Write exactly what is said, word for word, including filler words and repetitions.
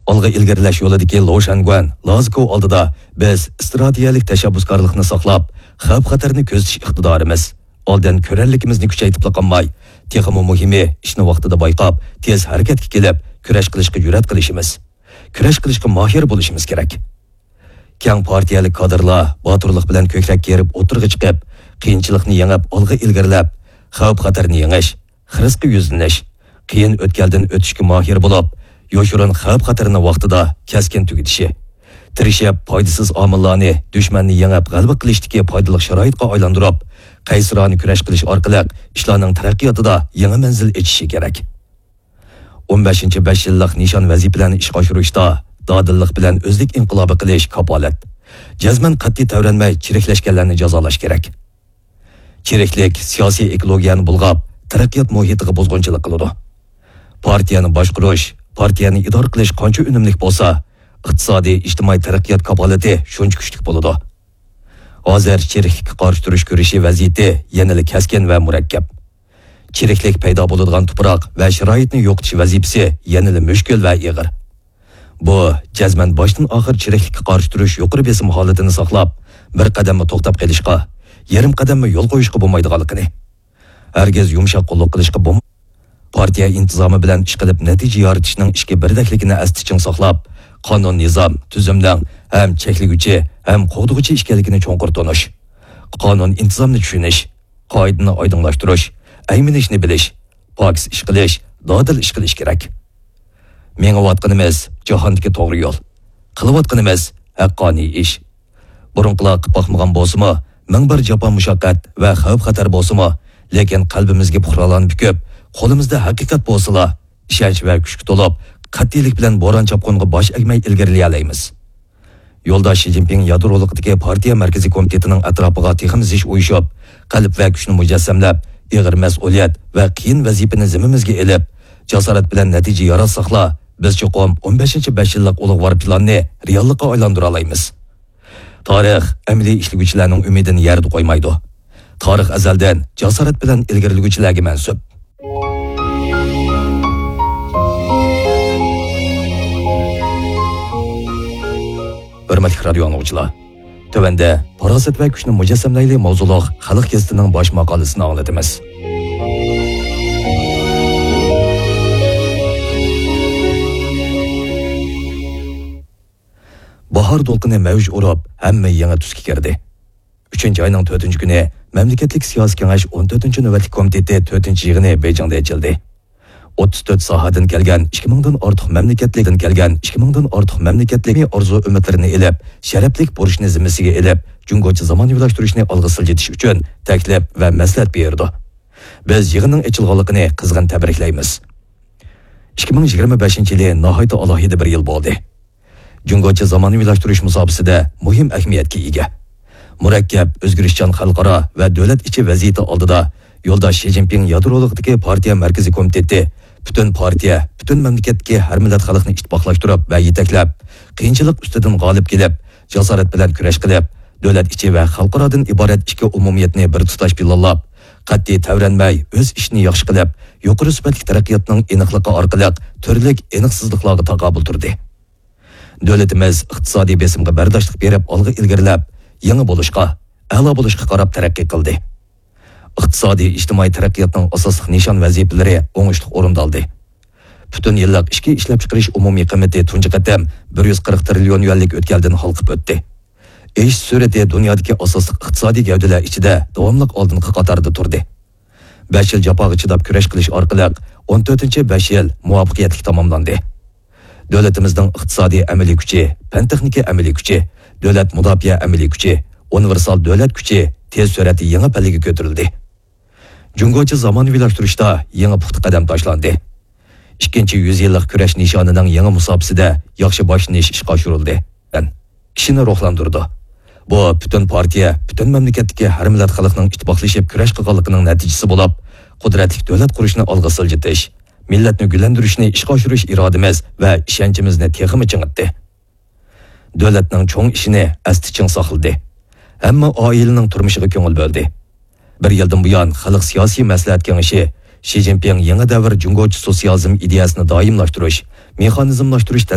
ئالغا ئىلگىرىلەش يولىدىكى لو شەنگۈەن، لازكو ئالدىدا بىز ئىستراتېگىيەلىك تەشەببۇسكارلىقنى ساقلاپ، خەۋپ-خەتەرنى كۆزىتىش ئىقتىدارىمىز، ئالدىن كۆرەرلىكىمىزنى كۈچەيتىپلا قالماي، تېخىمۇ مۇھىمى، ئىشنى ۋاقتىدا بايقاپ، تېز ھەرىكەتكە كېلىپ، كۈرەش قىلىشقا جۈرئەت قىلىشىمىز، كۈرەش قىلىشقا ماھىر بولۇشىمىز كېرەك. كەڭ پارتىيەلىك كادىرلار باتۇرلۇق بىلەن كۆكرەككە ئېرىپ ئوتتۇرىغا چىقىپ، قىيىنچىلىقنى يېڭىپ ئالغا ئىلگىرىلەپ، خەۋپ-خەتەرنى يېڭىش، خىرىسقا يۈزلىنىش، قىيىن ئۆتكەلدىن ئۆتۈشكە ماھىر بولۇپ، يوشۇرۇن خەۋپ-خەتەرنى ۋاقتىدا، كەسكىن تۈگىتىشى، تىرىشىپ پايدىسىز ئامىللارنى، دۈشمەننى يېڭىپ غەلىبە قىلىشتىكى پايدىلىق شارائىتقا ئايلاندۇرۇپ، قەيسىرانە كۈرەش قىلىش ئارقىلىق ئىشلارنىڭ تەرەققىياتىدا يېڭى مەنزىل ئېچىشى كېرەك. ئون بەشىنچى بەش يىللىق نىشان ۋەزىپىلەرنى ئىشقا ئاشۇرۇشتا دادىللىق بىلەن ئۆزلۈك ئىنقىلابى قىلىش كاپالەت. جەزمەن قەتئىي تەۋرەنمەي چىرىكلەشكەنلەرنى جازالاش كېرەك. چىرىكلىك سىياسىي ئېكولوگىيەنى بۇلغاپ، تەرەققىيات مۇھىتىغا بۇزغۇنچىلىق قىلىدۇ. پارتىيەنى باشقۇرۇش، پارتىيەنى ئىدارە قىلىش قانچە ئۈنۈملۈك بولسا، ئىقتىسادىي، ئىجتىمائىي تەرەققىيات كاپالىتى شۇنچە كۈچلۈك بولىدۇ. ھازىر چىرىكلىككە قارشى تۇرۇش كۈرىشى ۋەزىيىتى يەنىلا كەسكىن ۋە مۇرەككەپ. چىرىكلىك پەيدا بولىدىغان تۇپراق ۋە شارائىتنى يوقىتىش ۋەزىپىسى يەنىلا مۈشكۈل ۋە ئېغىر. بۇ، جەزمەن باشتىن ئاخىر چىرىكلىككە قارشى تۇرۇش يۇقىرى بېسىم ھالىتىنى ساقلاپ، بىر قەدەممۇ توختاپ قېلىشقا، يېرىم قەدەممۇ يول قويۇشقا بولمايدىغانلىقىنى، ھەرگىز يۇمشاق قوللۇق قىلىشقا بولم-، پارتىيە ئىنتىزامى بىلەن ئىش قىلىپ نەتىجە يارىتىشنىڭ ئىككى بىردەكلىكىنى ئەستە چىڭ ساقلاپ، قانۇن، نىزام، تۈزۈمنىڭ ھەم چەكلىگۈچى، ھەم قوغدىغۇچى ئىكەنلىكىنى چوڭقۇر تونۇش، قانۇن، ئىنتىزامنى چۈشىنىش، قائىدىنى ئايدىڭلاشتۇرۇش، ئەيمىنىشنى بىلىش، پاكىز ئىش قىلىش، دادىل ئىش قىلىش كېرەك. مېڭىۋاتقىنىمىز جاھاندىكى توغرا يول. قىلىۋاتقىنىمىز ھەققانىي ئىش. بۇرۇنقىلار قىلىپ باقمىغان بولسىمۇ، مىڭ بىر جاپا مۇشەققەت ۋە خەۋپ-خەتەر بولسىمۇ، لېكىن قەلبىمىزگە پۇقرالارنى پۈكۈپ، قولىمىزدا ھەقىقەت بولسىلا، ئىشەنچ ۋە كۈچكە تولۇپ، قەتئىيلىك بىلەن بوران-چاپقۇنغا باش ئەگمەي ئىلگىرىلىيەلەيمىز. يولداش شى جىنپىڭ يادرولۇقىدىكى پارتىيە مەركىزىي كومىتېتىنىڭ ئەتراپىغا تېخىمۇ زىچ ئۇيۇشۇپ، قەلب ۋە كۈچنى مۇجەسسەملەپ، ئېغىر مەسئۇلىيەت ۋە قىيىن ۋەزىپىنى زىممىمىزگە ئېلىپ، جاسارەت بىلەن نەتىجە ياراتساقلا، بىز چوقۇم ئون بەشىنچى بەش يىللىق ئۇلۇغۋار پىلاننى رېئاللىققا ئايلاندۇرالايمىز. تارىخ ئەمەلىي ئىشلىگۈچىلەرنىڭ ئۈمىدىنى يەردە قويمايدۇ. تارىخ ئەزەلدىن جاسارەت بىلەن ئىلگىرىلىگۈچىلەرگە مەنسۇپ. ھۆرمەتلىك رادىيو ئاڭلىغۇچىلار، تۆۋەندە پاراسەت ۋە كۈچنى مۇجەسسەملەيلى ماۋزۇلۇق خەلق گېزىتىنىڭ باش ماقالىسىنى ئاڭلىتىمىز. باھار دولقۇنى مەۋج ئۇرۇپ، ھەممە يېڭى تۈسكە كىردى. ئۈچىنچى ئاينىڭ تۆتىنچى كۈنى مەملىكەتلىك سىياسىي كېڭەش ئون تۆتىنچى نۆۋەتلىك كومىتېتى تۆتىنچى يىغىنى بېيجىڭدا ئېچىلدى. ئوتتۇز تۆت ساھەدىن كەلگەن ئىككى مىڭدىن ئارتۇق مەملىكەتلىكتىن كەلگەن ئىككى مىڭدىن ئارتۇق مەملىكەتلىك ئارزۇ-ئۈمىدلىرىنى ئېلىپ، شەرەپلىك بۇرچنى زىممىسىگە ئېلىپ، جۇڭگوچە زامانىۋىلاشتۇرۇشنى ئالغا سىلجىتىش ئۈچۈن تەكلىپ ۋە مەسلىھەت بېرىدۇ. بىز يىغىننىڭ ئېچىلغانلىقىنى قىزغىن تەبرىكلەيمىز. ئىككى مىڭ يىگىرمە بەشىنچى يىلى ناھايىتى ئالاھىدە بىر يىل بولدى. جۇڭگوچە زامانىۋىلاشتۇرۇش مۇساپىسىدە مۇھىم ئەھمىيەتكە ئىگە. مۇرەككەپ، ئۆزگىرىشچان خەلقئارا ۋە دۆلەت ئىچى ۋەزىيىتى ئالدىدا يولداش شى جىنپىڭ يادرولۇقىدىكى پارتىيە مەركىزىي كومىتېتى پۈتۈن پارتىيە، پۈتۈن مەملىكەتتىكى ھەر مىللەت خەلقنى ئىتتىپاقلاشتۇرۇپ ۋە يېتەكلەپ، قىيىنچىلىق ئۈستىدىن غالىب كېلىپ، جاسارەت بىلەن كۈرەش قىلىپ، دۆلەت ئىچى ۋە خەلقئارادىن ئىبارەت ئىككى ئومۇمىيەتنى بىر تۇتاش پىلانلاپ، قەتئىي تەۋرەنمەي ئۆز ئىشىنى ياخشى قىلىپ، يۇقىرى سۈپەتلىك تەرەققىياتنىڭ ئېنىقلىقى ئارقىلىق تۈرلۈك ئېنىقسىزلىقلارغا تاقابىل تۇردى. دۆلىتىمىز ئىقتىسادىي بېسىمغا بەرداشلىق بېرىپ ئالغا ئىلگىرىلەپ، يېڭى بولۇشقا، ئەلا بولۇشقا قاراپ تەرەققىي قىلدى. ئىقتىسادىي ئىجتىمائىي تەرەققىياتنىڭ ئاساسلىق نىشان ۋەزىپىلىرى ئوڭۇشلۇق ئورۇندالدى. پۈتۈن يىللىق ئىچكى ئىشلەپچىقىرىش ئومۇمىي قىممىتى تۇنجى قېتىم بىر يۈز قىرىق تىرىليون يۈەنلىك ئۆتكەلدىن ھالقىپ ئۆتتى. ئېشىش سۈرئىتى دۇنيادىكى ئاساسلىق ئىقتىسادىي گەۋدىلەر ئىچىدە داۋاملىق ئالدىنقى قاتاردا تۇردى. بەش يىل جاپاغا چىداپ كۈرەش قىلىش ئارقىلىق ئون تۆتىنچى بەش يىل مۇۋەپپەقىيەتلىك تاماملاندى. دۆلىتىمىزنىڭ ئىقتىسادىي ئەمەلىي كۈچى، پەن-تېخنىكا ئەمەلىي كۈچى، دۆلەت مۇداپىئە ئەمەلىي كۈچى، ئۇنىۋېرسال دۆلەت كۈچى تېز سۈرئەتتە يېڭى پەللىگە كۆتۈرۈلدى. جۇڭگوچە زامانىۋىلاشتۇرۇشتا يېڭى پۇختا قەدەم تاشلاندى. ئىككىنچى يۈز يىللىق كۈرەش نىشانىنىڭ يېڭى مۇساپىسىدە ياخشى باشلىنىش ئىشقا ئاشۇرۇلدى. كىشىنى روھلاندۇرىدۇ. بۇ پۈتۈن پارتىيە، پۈتۈن مەملىكەتتىكى ھەر مىللەت خەلقنىڭ ئىتتىپاقلىشىپ كۈرەش قىلغانلىقىنىڭ نەتىجىسى بولۇپ، قۇدرەتلىك دۆلەت قۇرۇشنى ئالغا سىلجىتىش، مىللەتنى گۈللەندۈرۈشنى ئىشقا ئاشۇرۇش ئىرادىمىز ۋە ئىشەنچىمىزنى تېخىمۇ چىڭىتتى. دۆلەتنىڭ چوڭ ئىشىنى ئەستە چىڭ ساقلىدى. ھەممە ئائىلىنىڭ تۇرمۇشىغا كۆڭۈل بۆلدى. بىر يىلدىن بۇيان، خەلق سىياسىي مەسلىھەت كېڭىشى شى جىنپىڭ يېڭى دەۋر جۇڭگوچە سوتسىيالىزم ئىدىيەسىنى دائىملاشتۇرۇش، مېخانىزملاشتۇرۇش